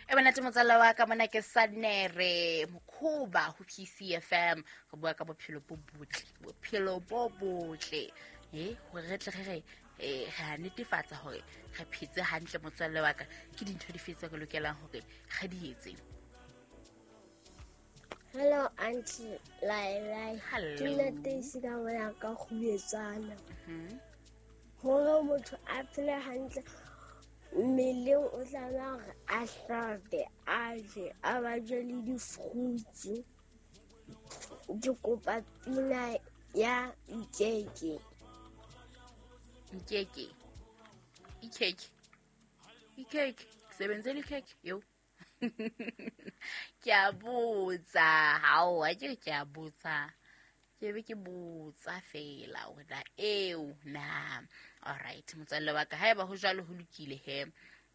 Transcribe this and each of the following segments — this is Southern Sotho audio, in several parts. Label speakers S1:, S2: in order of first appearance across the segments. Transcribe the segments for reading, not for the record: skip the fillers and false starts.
S1: E monate motswalle wa ka, mona ke Sanere Mokhoba ho PCFM. Re bua ka bophelo bo botle, bophelo bo botle, e hore re tle re re re a netefatsa hore re phetse hantle. Motswalle wa ka, ke dintho dife tse re lokelang hore re di etse?
S2: Hello, Auntie Lai.
S1: Hello.
S2: Ke nna Teisi ka mona ka kgubetsana. Hore motho a phele hantle mmeleng, o tlameha hore a hlape, a je, a ba je le di-fruits. Ke kopa pina ya Nkeke.
S1: Nkeke, ikhekhe, ikhekhe, sebenzela ikhekhe yo. Ke a botsa, hao a ke ke a botsa, ke be ke botsa fela hore na eo na. Alright, motswalle wa ka, haeba ho jwalo ho lokile he.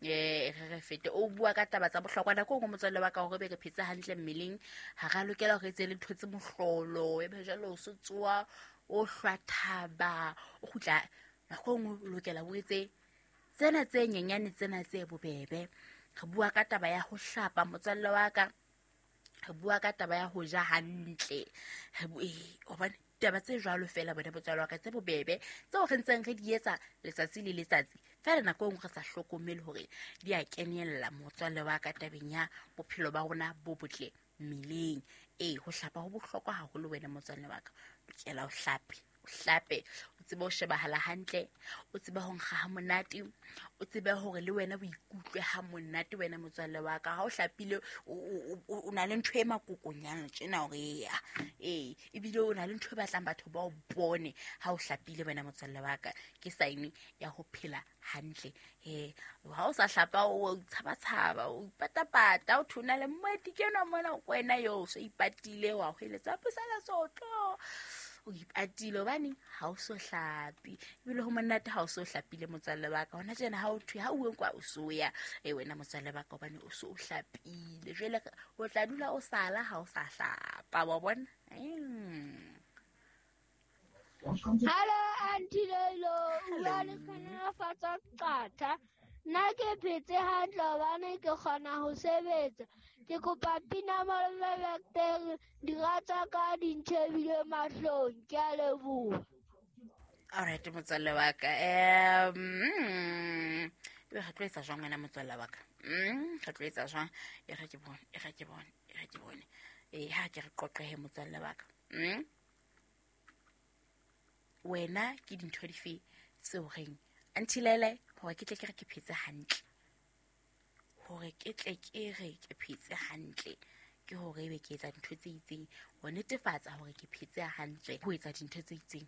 S1: Re re fete o bua ka taba tsa bohlokwa nako e nngwe, motswalle wa ka, hore be re phetse hantle mmeleng, ha ra lokela hore etse le ntho tse mohlolo, e be jwalo o so tsoa o hlwa thaba o kgutla. Nako e nngwe o lokela o etse tsena tse nyenyane, tsena tse bobebe. Re bua ka taba ya ho hlapa, motswalle wa ka, re bua ka taba ya ho ja hantle. Hobane taba tse jwalo fela bone, motswalle wa ka, tse bobebe tseo re ntseng re di etsa letsatsi le letsatsi fela, nako e nngwe re sa hlokomele hore di a kenella, motswalle wa ka, tabeng ya bophelo ba rona bo botle mmeleng. Ee, ho hlapa ho bohlokwa haholo, wena motswalle wa ka. Lokela o hlape, o hlape, o tsebe ho shebahala hantle, o tsebe ho nkga ha monate, o tsebe hore le wena o ikutlwe ha monate, wena motswalle wa ka. Ha o hlapile, o na le ntho e makokonyana tjena hore ea ee, ebile o na le ntho e batlang batho ba o bone ha o hlapile, wena motswalle wa ka. Ke sign ya ho phela hantle. Ha o sa hlapa, o tshabatshaba, o ipatapata, o thona le moeti ke enwa mona ko wena yo o so ipatile, wa hweletsa pusela sotlo, o ipatile hobaneng ha o so hlapi. Ebile ho monate ha o so hlapile, motswalle wa ka. Hona tjena ha o thwe ha uwe kwa o so ya e, wena motswalle wa ka, hobane o so o hlapile. Jwale o tla dula o sala ha o sa hlapa wa bona.
S2: Hello, Auntie Lelo. Bua le Tlhonolofatsa Qatha. Nna ke phetse hantle hobane ke kgona ho sebetsa. Ke kopa pina Malome Vector, dira tsa ka di ntjhebile mahlong. Ke a leboha.
S1: Alright, motswalle wa ka, ebe re tlo etsa jwang, wena motswalle wa ka? Re tlo etsa jwang? E re ke bone, e re ke bone, e re ke bone. Ee, ha ke re qoqehe, motswalle wa ka. Wena ke dintho dife tseo reng, Auntie Lele, hore ke tle ke re ke phetse hantle, hore ke tle ke re ke phetse hantle, ke hore ebe ke etsa dintho tse itseng ho netefatsa hore ke phetse hantle, ho etsa dintho tse itseng?